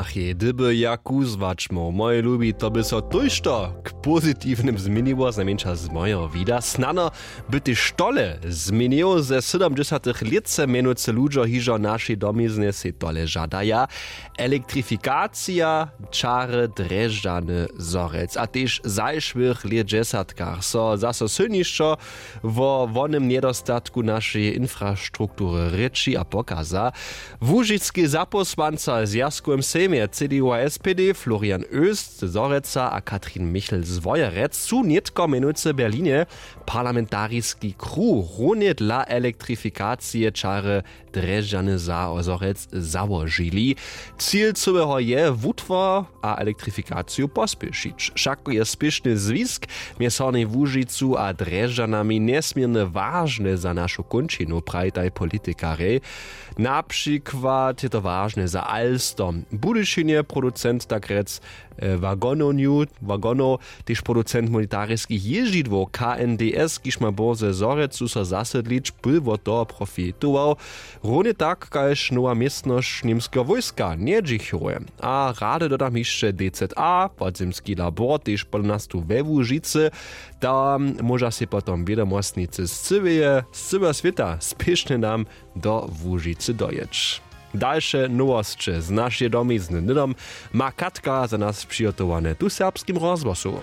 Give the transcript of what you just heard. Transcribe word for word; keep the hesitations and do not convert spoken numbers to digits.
Kdy by ja kuzłačmoł mojej lubi, to by so tójšto k pozitiwnym změniło, znajmjeńša z mojeho wida. Snano by tež tole změnił. Ze sydomdźesatych lětce mjenujcy ludźo hižo w našej domizny sej tole žadaja: elektrifikacija čary drježdźany zhorjelc. A tež zašłych lětdźesatkach so zaso sylnišo wo wonym njedostatku našeje infrastruktury rěči a pokaza. Łužiski zapósłanca w zwjazkowym sejmje cdu a spd florian oest z horjeca a katrin michel z wojerec su nětko mjenujcy w berlinje parlamentariski kruh runje dla elektrifikacije čary drježdźany zhorjelc załožili. Cil cyłeho je wutwar a elektrifikaciju pospěšić. Wšako je spěšny zwisk mjez hornjej łužicu a drježdźanami njesměrnje wažny za našu kónčinu, prajitaj politikarjej. Na přikład je to wažne za alstom, budyšinje producent tak rjec wagonowju wagonow, tež producent militariskich jězdźidłow knds kiž ma bórze zhorjecu so zasydlić, pól wot toho profitował. Runje tak kaž nowa městnosć němskeho wójska njedźichowje. A rady dodam hišće dza podzemski labor tež pola nas tu we łužicy. Tam móža sej potom wědomostnicy z cyłeje z cyłeho swěta spěšnje nam do łužicy dojěć. Dalše nowosće z našeje domizny hnydom ma katka za nas přihotowane tu w serbskim rozhłosu.